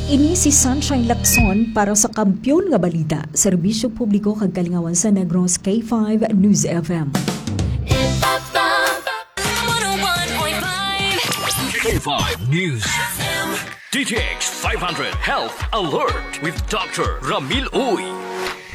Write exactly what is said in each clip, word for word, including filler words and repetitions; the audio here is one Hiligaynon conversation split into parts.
Ini si Sunshine Lacson para sa Kampiyon nga Balita, Serbisyo Publiko kag Kalingawan sa Negros, K five News F M. K five News. D T X five hundred Health Alert with Doctor Ramil Uy.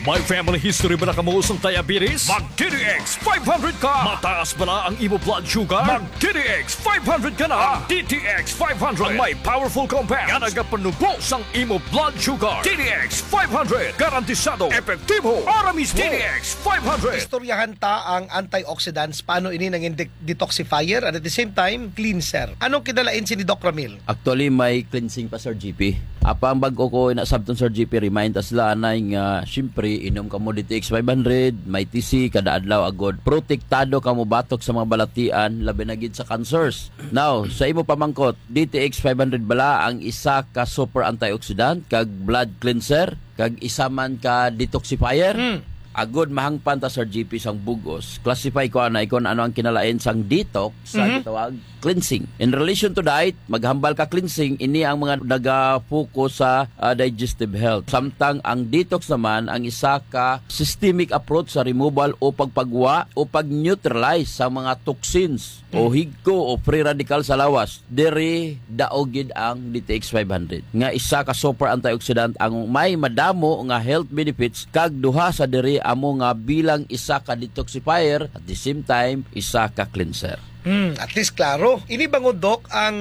May family history ba na kamo sang diabetes? Mag D T X five hundred ka! Mataas ba na ang imo blood sugar? Mag D T X five hundred ka na! Ang D T X five hundred ang may powerful compound nga nagapanubo sang imo blood sugar. D T X five hundred, garantisado, epektibo, ora mismo. D T X five hundred. Istoryahan ta ang antioxidants, paano ini nangin de-, detoxifier, and at the same time, cleanser. Anong kinalain sini, Doc Ramil? Actually, may cleansing pa, Sir G P. Apang bag-o ko ina sabton, Sir G P, remind ta sila anay nga, siyempre, inom ka mo D T X five hundred, may T C, kada adlaw agod. Protektado ka mo batok sa mga balatian, labi na gid sa cancers. Now, sa imo pamangkot, D T X five hundred bala ang isa ka super antioxidant kag blood cleanser, kag isa man ka detoxifier? Hmm. Agod mahangpan ta, Sir G P, sang bugos, classify ko anay kung ano ang kinalain sang detox sa Mhm. gitawag cleansing. In relation to diet, maghambal ka cleansing, ini ang mga naga-focus sa, ah, digestive health. Samtang ang detox naman ang isa ka systemic approach sa removal o pagpagwa o pag-neutralize sa mga toxins o Mhm. higko o free radical sa lawas. Diri daog gid ang D T X five hundred, nga isa ka super antioxidant ang may madamo nga health benefits, kag duha sa diri amo nga bilang isa ka detoxifier, at the same time, isa ka cleanser. Hmm, at least klaro. Ini bangod, Doc, ang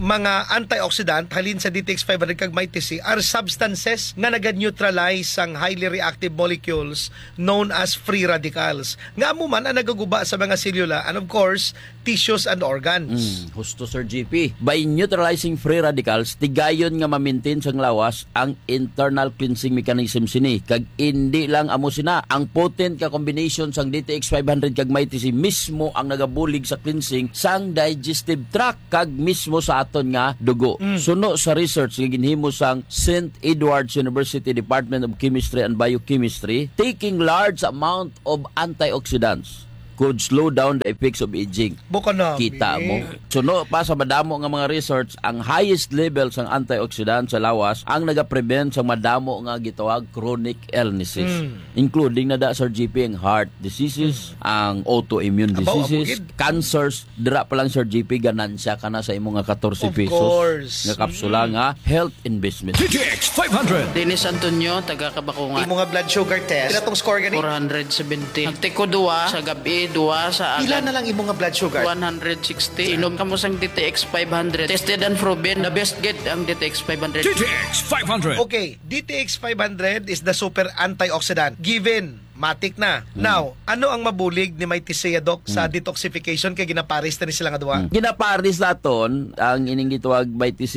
mga antioxidant halin sa D T X five hundred kag Mighty C are substances nga naga-neutralize sang highly reactive molecules known as free radicals, nga amo man ang nagaguba sa mga selula and, of course, tissues and organs. Mm, husto, Sir G P. By neutralizing free radicals, tigayon nga ma-maintain sang lawas ang internal cleansing mechanism sini, kag indi lang amo sina. Ang potent nga combination sang D T X five hundred kag Mighty C mismo ang nagabulig sa cleansing sang digestive tract kag mismo sa aton nga dugo. Mm. Suno sa research nga ginhimo sang Saint Edward's University Department of Chemistry and Biochemistry, taking large amount of antioxidants could slow down the effects of aging. Buka na, Kita eh. mo. Suno pa sa madamo nga mga research, ang highest level sang antioxidant sa lawas ang nagaprevent sa madamo nga gitawag chronic illnesses, Mm. including na da, Sir G P, ang heart diseases, Mm. ang autoimmune Abaw, diseases, amo gid. Cancers. Dira pa lang, Sir G P, ganansya ka na sa imo nga katorse Of pesos course. nga kapsula Mm. nga health investment. D T X five hundred. Dennis Antonio, taga Kabakungan. Imo nga blood sugar test. Pila tong score gani? Four hundred seventy. Nagtiko duwa sa gabi, duwa sa Pila agad. na lang imo nga blood sugar? One hundred sixty. Inom kamo sang D T X five hundred. Tested and proven. The best gid ang D T X five hundred. D T X five hundred. Okay, D T X five hundred is the super antioxidant. Given, matik na. Hmm. Now, ano ang mabulig ni Mighty C, Doc, sa Hmm. detoxification kay ginapares na ni sila nga duha? Hmm. Ginapares naton ang ining gitawag Mighty C,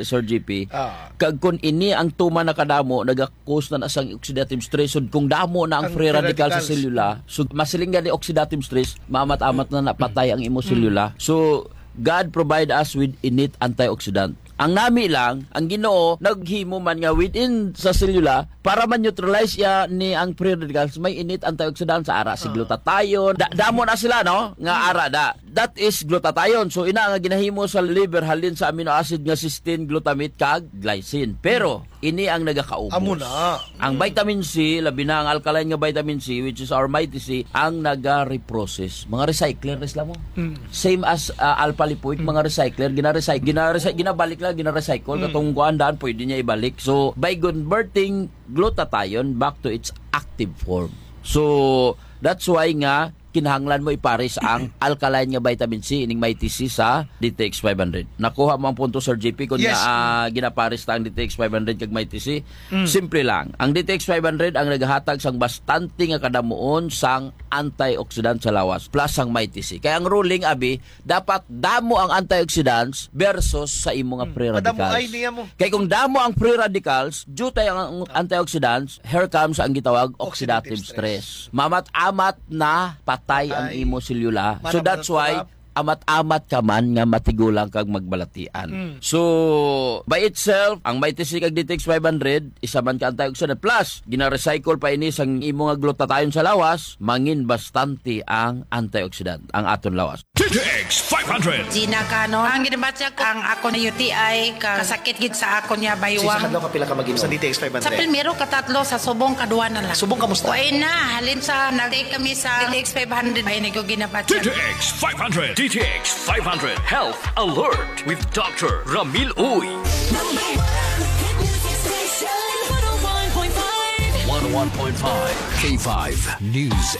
Sir G P. Ah. Kag kung ini ang tuman na kadamo, naga-cause na na sang oxidative stress. So, kung damo na ang Ang free free radical sa radicals. selula, so, masiling gani oxidative stress, maamat-amat na napatay ang imo Mm. selula. So, God provide us with innate antioxidant. Ang nami lang, ang Ginoo naghimo man nga within sa selula para ma-neutralize iya ni ang free radicals, may innate antioxidant sa ara si Ah. glutathione. Da-, damo na sila, no? Nga Mm. ara da. That is glutathione. So, ina nga ginahimo sa liver halin sa amino acid nga cysteine, glutamate, kag glycine. Pero, ini ang nagakaubos. Amo na. Ang Mm. vitamin C, labi na ang alkaline nga vitamin C, which is our Mighty C, ang naga-reprocess. Mga recycler na sila mo. Mm. Same as, ah, alpha lipoic, Mm. mga recycler, gina-recycle, gina-recy-, ginabalik lang, gina-recycle. Mm. Katong kuan daan, pwede niya ibalik. So, by converting glutathione back to its active form. So, that's why nga kinahanglan mo ipares ang alkaline nga vitamin C, ining Mighty C sa D T X five hundred. Nakuha mo ang punto, Sir G P, kung Yes. na, ah, ginapares ta ang D T X five hundred kag Mighty C. Mm. Simple lang. Ang D T X five hundred ang naghatag sang bastante nga kadamuon sang antioxidant sa lawas plus sang Mighty C. Kaya ang ruling, abi, dapat damo ang antioxidants versus sa imo nga Mm. free Madamo radicals. ay niya mo. Kay kung damo ang free radicals, due tayo ang Ah. antioxidants, here comes ang gitawag oxidative Oxidative stress. stress. Mamat-amat na patay ang Patay. imo selula. So Mara-, that's why mara-, amat-amat ka man nga matigulang kag magbalatian. Mm. So, by itself, ang Mighty C kag D T X five hundred, isa man ka antioxidant. Plus, gina-recycle pa ini sang imo nga glutathione sa lawas, mangin bastante ang antioxidant, ang aton lawas. D T X five hundred. Gina Cano, ang ginabatya ko, ang ako na U T I, ka kasakit gid sa ako niya, Sa baywang. Isang adlaw, kapila ka mag-inom? Sa D T X five hundred. Sa primero, katatlo, sa subong, kadwa na lang. Subong, kamusta? Way na, halin sa nag-take kami sa D T X five hundred, ay, naguginabat siya. D T X five hundred. D T X five hundred Health Alert with Doctor Ramil Uy. Number one hit music station, one oh one point five. One oh one point five K five News.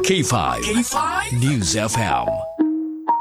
K five K five News F M.